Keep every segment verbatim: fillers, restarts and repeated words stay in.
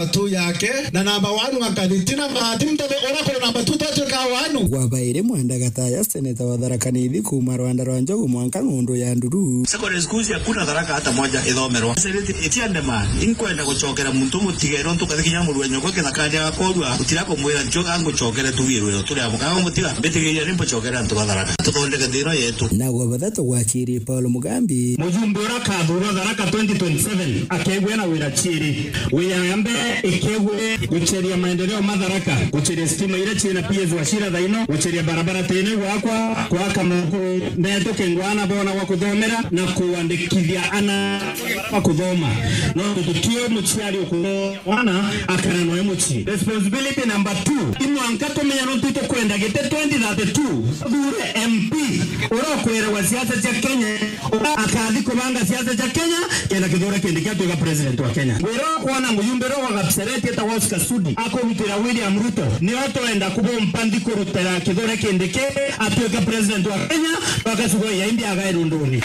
Matu yake, na namba one wa Kathiti na Maati Mutebe, uria kuri namba two twatuika one. Gwa bairi Mwenda Gataya, seneta wa Tharaka Nithi kuuma rwanda rwa Njogu mwanka ng'undu ya Nduru. Secondary schools hakuna Tharaka hata moja ithomerwa. Sereti itiandema, inkwenda gucokera muntu mutigere untu kathi kinya muru wa nyoko kithakani agakorua, utira kumwira njo angucokere tugirwe turi abo. Kaga mutiga, mbitigiria ni mbucokere antu ba Tharaka. Tuthondeke thina yetu. Na gwa bathatu gwakiri Paul Mugambi. Mujumbe uria akathurwa Tharaka twenty twenty-seven akegua na wira ciiri. Wira ya mbere ikegua guceria maendeleo ma Tharaka, guceria stima iria ciina P S Wachira thaino, guceria barabara tene gwakwa, gwaka maukuru metu kingwana bona gwa kuthomera na kuandikithia ana ba kuthoma. No tutio muciari ukuthoma mwana akara noe mucii. Responsibility number two, imwanka tumenya nontu itukwenda giti twenty thirty-two, thure M P uria ukwiragwa siasa cia Kenya, uria akathi kubanga siasa cia Kenya, kenda Kithure Kindiki atuika president wa Kenya. Wira wa kwona mujumbe uria wa Kapseret etagwa Oscar Sudi akurutira William Ruto, nio twenda kubompa nthi kurutira Kithure Kindiki atuike president wa Kenya, mpaka siku ya imbi agae runduni.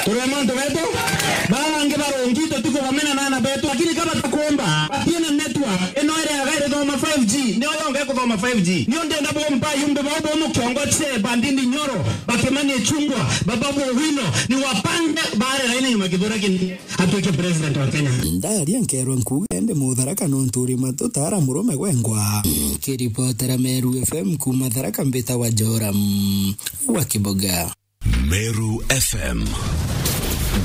Turi mantu betu, baa bangi barungi tutikubamena na ana betu, lakini kaba tukumba, batina network, ino iri aga irithoma five G, nio yonga ikuthoma five G. Nio ndenda bompa yumbe bau bomu kiongo che bandindi nyoro, bakimani chungwa, baba bo wino, ni wapange bare laini nyuma Kithure Kindiki atuike president wa Kenya. Ndaria nkerwa nkuga ende Mutharaka nontu uri matu tara murume gwengwa. Kiripotera Meru F M kuuma Tharaka mbita wa Joram wa Kiboga. Meru F M.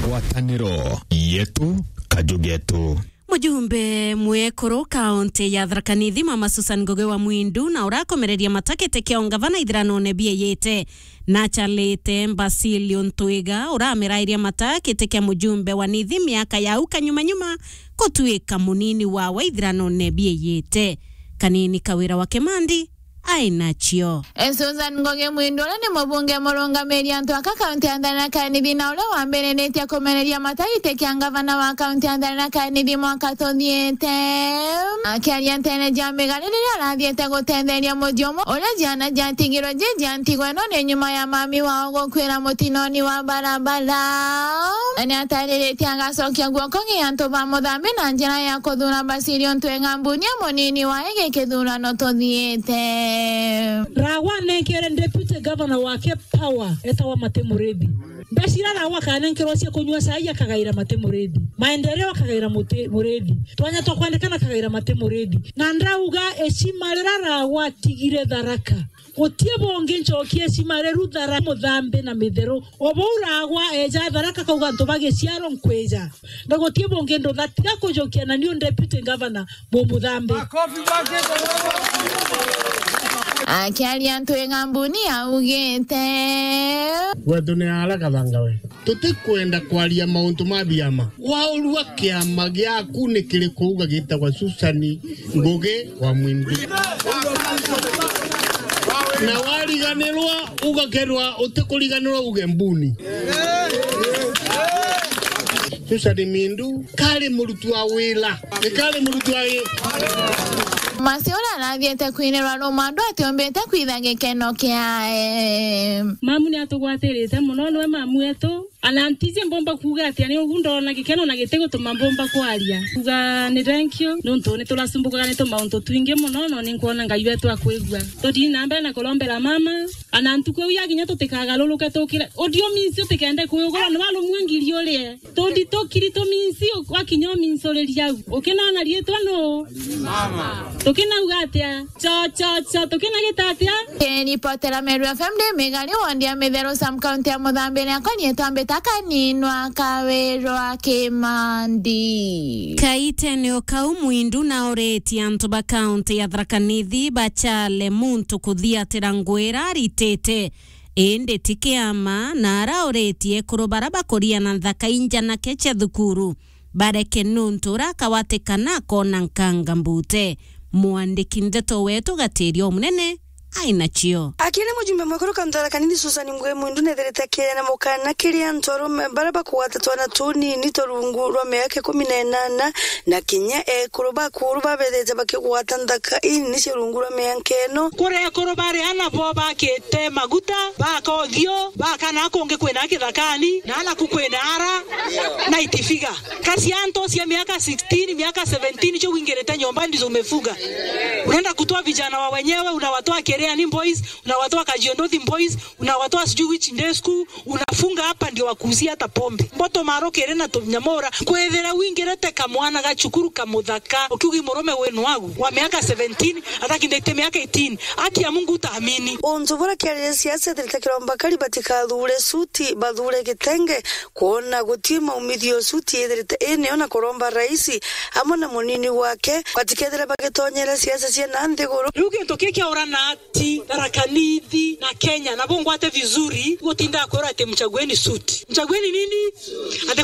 Ngwataniro yetu, kaju getu. Mujumbe mwekuru kaunti ya Tharaka Nithi, Mama Susan Ngugi wa Mwindu, na urakomereria mata giti kia ungavana ithiranone bieyite, na achalite Basilio Ntwiga, uramirairia mata giti kia mujumbe wa Nithi miaka ya au kanyuma nyuma, gutuika munini wawe ithiranone bieyite. Kanini Kawira wa Kimandi, ai nacio. E, Susan Ngugi Mwindu, uria ni mubunge murungamiri antu aka kaunti ya Tharaka Nithi, na uria wambiriritie kumereria mata giti kia ngavana wa kaunti ya Tharaka Nithi mwaka tuthiite. Akiaria ntene ja migari riria arathiite gutetheria muji umwe uria ciana ciatigirwe ji cia ntigo ino ni nyuma ya mami wao gukwira mutinoni wa barabara. Na ni atariritie agacokia guoko gi antu ba Muthambi na njira ya kuthura Basilio Ntwiga Mbunia munini wae gi kithurano tuthiite. Rawa nenkere deputy governor wake power etagwa Mate Murithi. Ndacira Rawa kanenkerwa cia kunyua cai akagaira Mate Murithi. Maendeleo akagaira Mate Murithi. Twanya twa kwandikana akagaira Mate Murithi. Na ndauga ecima rira Rawa atigire Tharaka, gutie bungi ncokie ecima riru Tharaka Muthambi na mitheru. O bau Rawa eja Tharaka kauga antu ba giciaro nkwija. Na gutie bungi ndutha tiga kujukia na niu deputy governor Mumuthambi. Akiaria Ntwiga Mbuni augite. Gwetu ni ara Kathanga we. Tutikwenda kwaria mauntu ma biama. Waurua kiama giaku ni kiriku uga gitagwa Susani Ngugi wa Mwindu. Na wariganirwa, ugakerwa utikuriganirwa uge Mbuni. Susani Mindu, kari murutu wa wira. Ni kari murutu wa wi- Masi uria arathiite kwinirwa rumandu atiombite kwitha gikeno kiae. Mamu ni atugwatirite muno, niwe mamu wetu. Ana ntiji mbomba kuuga atia, ni ugu ndona gikeno na gitigutuma mbomba kwaria. Kuuga ni thank you, nontu ni turacumbukaga ni tumauntu twingi muno, no ni nkwona Ngai wetu akwigua. Tuthii na mbere na kurombera mama, ana ntuku iu yakinya tutikagaruruke tukire. Uthio minsi utikende kuyugura, ni warumue ngiri urie. Tuthi tukiri tuminsi, wakinya uminsuriria au. Ukinona riitwa nu? Tukinauga atia? Cho, cho, cho, tukinagita atia? Kiripotera Meru F M ndi Migari, wondi ya Mitheru, Sam County ya Muthambi, ni akwa niitwa Mbita Kaninwa Kawirwa Kimandi. Kaitene o kau, Mwindu nauritie antu ba kaunti ya Tharaka Nithi bachale muntu kuthiatira ngwira aritite, indi ti kiama, na arauritie ekuru bara bakuria na nthaka injanake cia thukuru bareke nuntu uria akawatikana akona nkanga mbute. Mwandiki ndeto wetu Gatiria Omunene ai nacio. Akiri mujumbe mwekuru kantu Tharaka Nithi Susan Mbwe Mwindu nethirite akiheana mukana kiri antu arume baria bakugwata twana tunini twa rungu rwa miaka ikumi na inana na kinya ekuru ba kuru babethite bakigwata nthaka inini cia rungu rwa miaka ino. Kuri ekuru bari ana bo bakite maguta, baka uthio, bakana kungi kwina kithakani, na ana ku kwina ara, na itifiga. Kasi antu cia miaka sixteen, miaka seventeen, cho wingirite nyomba ndizo umefuga. Unaenda kutoa vijana wa wenyewe, unawatoa Kereani boys, unawatoa Kajiondothi boys, unawatoa sijui which day school, unafunga hapa ndio wakuuzie hata pombe. Mboto marokere na tunyamora, kwethira wingirite kamwana ga cukuru kamuthaka, ukiugi murume wenu wagu, wa miaka seventeen, atakindite miaka eighteen. Aki ya Mungu utaamini. Untu bura kiarire siasa thirite kiromba kari batikathure suti, bathure kitenge, kwona guti maumithio suti ithirite iniyo na kuromba raisi amwe na munini wake batikethire bagitonyera siasa cia na nthiguru. Riu gintu ki kiaurana ati Tharaka Nithi na Kenya, na bungwate vizuri, gutinda kwira ati mchagueni suti. Mchagueni nini? Ati